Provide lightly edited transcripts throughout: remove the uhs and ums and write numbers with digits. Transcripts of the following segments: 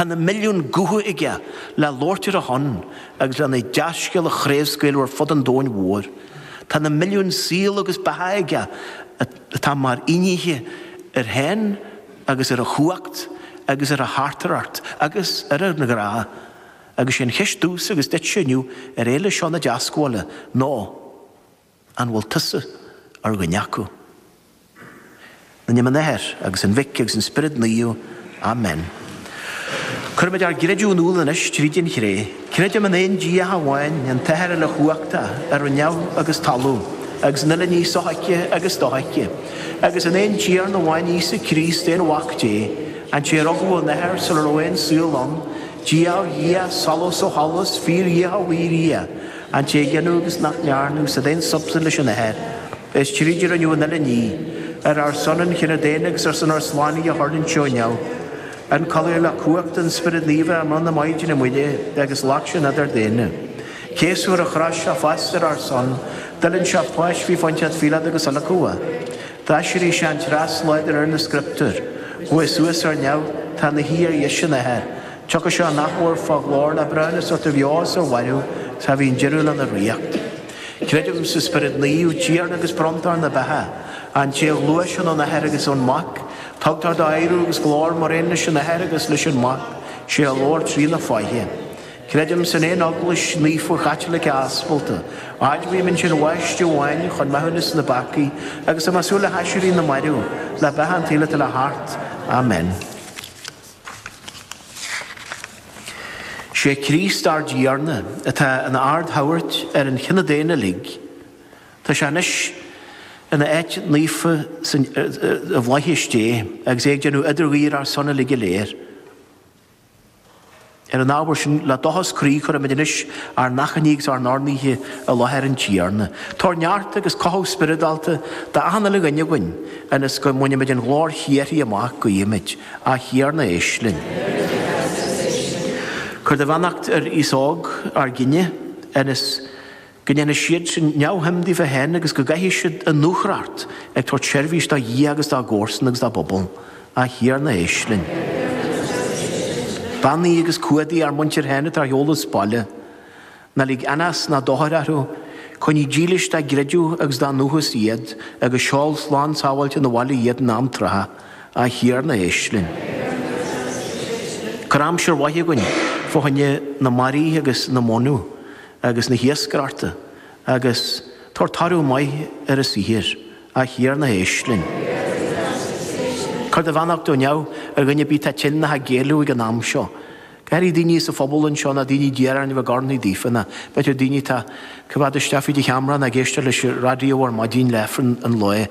Tá na milliúin gutha aige le labhairt ar a shon agus lena dea-scéal a chraobhscaoileadh ar fud an domhain mhóir. Tá na milliúin saol agus beatha aige atá mar fhínnéithe air féin agus ar a chumhacht agus ar a theachtaireacht agus ar a ghrá. Agus sé an cheist domhsa agus duitse inniu ar fhéile seo na Deascabhála ná, An bhfuil tusa ar dhuine acu? In ainm an Athar, agus an Mhic, agus an Spioraid Naomh. Amen. Cuirimid ár gcreideamh in iúl anois tríd an chré. Creidim in aon Dia amháin, an tAthair uilechumhachtach, a rinne neamh agus talamh, agus an uile ní sofheicthe agus dofheicthe, agus in aon Tiarna amháin Íosa Críost, aon Mhac Dé, an té a rugadh ón Athair sula raibh aon saol ann, Dia ó Dhia, solas ó sholas, fíor-Dhia ó fhíor-Dhia, An té a gineadh agus nach ndearnadh, is d'aon substaint leis an Athair, is tríd a rinneadh an uile ní, ar ár son an chine daonna agus ar son ár slánaithe a thuirling sé ó neamh, ionchollaithe le cumhacht an Spioraid Naofa i mbroinn na Maighdine Muire agus ghlac sé an fhiolar daonna. Céasadh ar an chrois sé fosta ar ár son, d'fhuilaing sé páis faoi Phointias Phíoláid agus adhlacadh é. D'aiséirigh sé an treas lá de réir na Scrioptúr. Chuaigh suas ar neamh, tá ina shuí ar dheis an Athar. Tiocfaidh sé in athuair fá ghlóir le breithiúnas a thabhairt ar bheo is ar mhairbh, 's cha bhíonn deireadh lena ríocht. Creidim sa Spiorad Naomh, Tiarna agus Bronntóir na beatha, an té a ghluaiseann ón Athair agus ón Mac, tugtar dó adhradh agus glóir mar aon leis an Athair agus leis an Mac, sé a labhair trí na fáithe. Creidim san aon Eaglais Naofa Chaitliceach Aspalta, admhaím ansin baisteadh amháin chun maithiúnas na bpeacaí, agus tá mé ag súil le haiséirí na marbh, le beatha an tsaoil atá le theacht. Amen. Sé Críost ár dTiarna atá ina ardshagart ar an chine daonna uilig. Tá sé anois ina áit naofa i bhflaithis Dé agus é ag déanamh idirghuí ar ár son uilig go léir. Ar an ábhar sin, le dóchas croí cuirimid anois ár n-achainí agus ár n-urnaithe i láthair an Tiarna. Tabhair neart agus cothú spioradálta d'achan uile dhuine againn, ionas go mbainfimid an ghlóir shíoraí amach, guímid. A Thiarna, éist linn. Cuir do bheannacht ar aos óg ár gcine, ionas Go ndéana siad sin neamhshuim daofa féin agus go gcaithfidh siad a ndúthracht ag tabhairt seirbhís do Dhia agus dá gcomharsain agus dá bpobal. A Thiarna éist linn. Beannaigh agus cumhdaigh ár muintir féin atá ar shiúl as baile. Ná lig anás ná dochar orthu. Coinnigh dílis dá gcreideamh agus dá ndúchas iad agus seol slán sábháilte 'na bhaile iad in am trátha. A Thiarna éist linn. Cuir aimsir mhaith againn fá choinne na mbarraí agus na mónadh. agus na hiascaireachta, agus tabhair toradh maith ar a saothar, a Thiarna éist linn. Cuir do bheannacht ó neamh ar dhuine ar bith atá tinn nó ag géilleadh ag an am seo. Go háirithe daoine sa phobal anseo nó daoine d'iarr orainn a bheith ag urnaí daofa nó b'fhéidir daoine atá ag coimhéad isteach fríd an cheamara nó ag éisteacht leis an raidió ar maidin le Aifreann an lae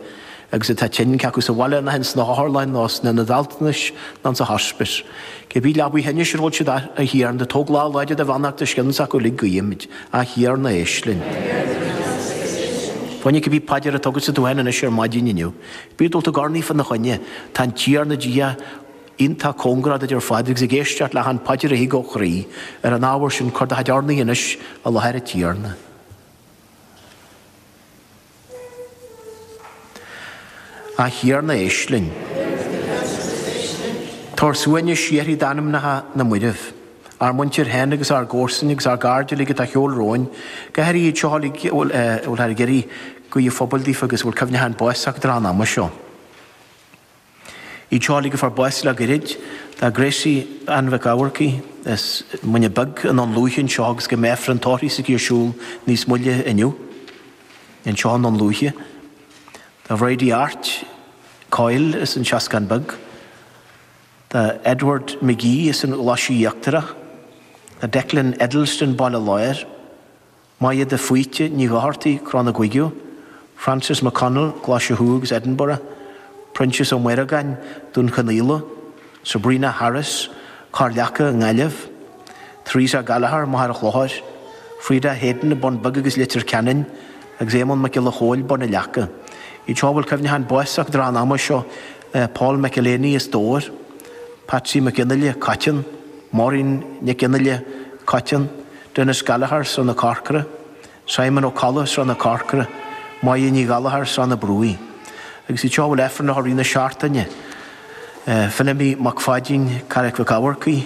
agus atá tinn, cé acu sa bhaile nó ins na hotharlanna nó sna hionaid altranais nó insa hospice. Cibé leabaidh thinnis ar a bhfuil siad a Thiarna, tóg lámh láidir do bheannachta os cionn s'acu uilig guímid, a Thiarna éist linn. Fá choinne cibé paidir atá agatsa tú féin anois ar maidin inniu, bí ag dul ag urnaí fá na choinne, tá an Tiarna Dia iontach cóngarach duit ar fad agus ag éisteacht le hachan paidir a thig ó chroí. Ar an ábhar sin, cuir do chuid urnaí anois i láthair an Tiarna. A Thiarna éist linn. Tabhair suaimhneas síoraí d'anamnacha na mairbh, ár muintir féin agus ár gcomharsain agus ár gcairde uilig atá ar shiúl romhainn, go háirithe iad seo uilig a bhfuil a bhfuil ag iarraidh guí an phobail daofa agus a bhfuil cuimhneachán báis acu tráth an ama seo. Iad seo uilig a fuair bás le goirid, tá Gracie Ann Mhic Eamharcaigh as Muine Bheag i nDún Lúiche anseo agus go mbeidh Aifreann tórraimh s'aici ar siúl níos moille inniu anseo i nDún Lúiche. Tá Bridie Art Coyle as an Seascann Beag. Tá Edward McGee as an Ghlaise Íochtarach. Tá Declan Eddleston Baile Láir. Maja de Faoite Ní Dhochartaigh, Cró na gCuigeadh, Francis McConnell, Glaise Thuaidh agus Edinburgh, Proinsias Ó Muireagáin, Dún Chonaill, Sabrina Harris, Corr Leaca i nGaillimh, Theresa Gallagher, Machaire Chlochair, Freda Hayden, Bun Beag agus Leitir Ceanainn, agus Éamonn Mac Giolla Chóill, Bun na Leaca. Iad seo a bhfuil cuimhneachán báis acu tráth an ama seo, Paul McElhaney as Dobhar, Patsy McGinley, Coiteann, Maureen Nic Fhionnaile, Coiteann, Denis Gallagher, Srath na Corcra, Simon Ó Colla, Srath na Corcra, Máire Ní Ghallchóir, Srath na Brúigh. Agus iad seo a bhfuil Aifreann leo i rith na seachtaine, Feilimí Mac Pháidín, Carraig Mhic Eamharcaigh.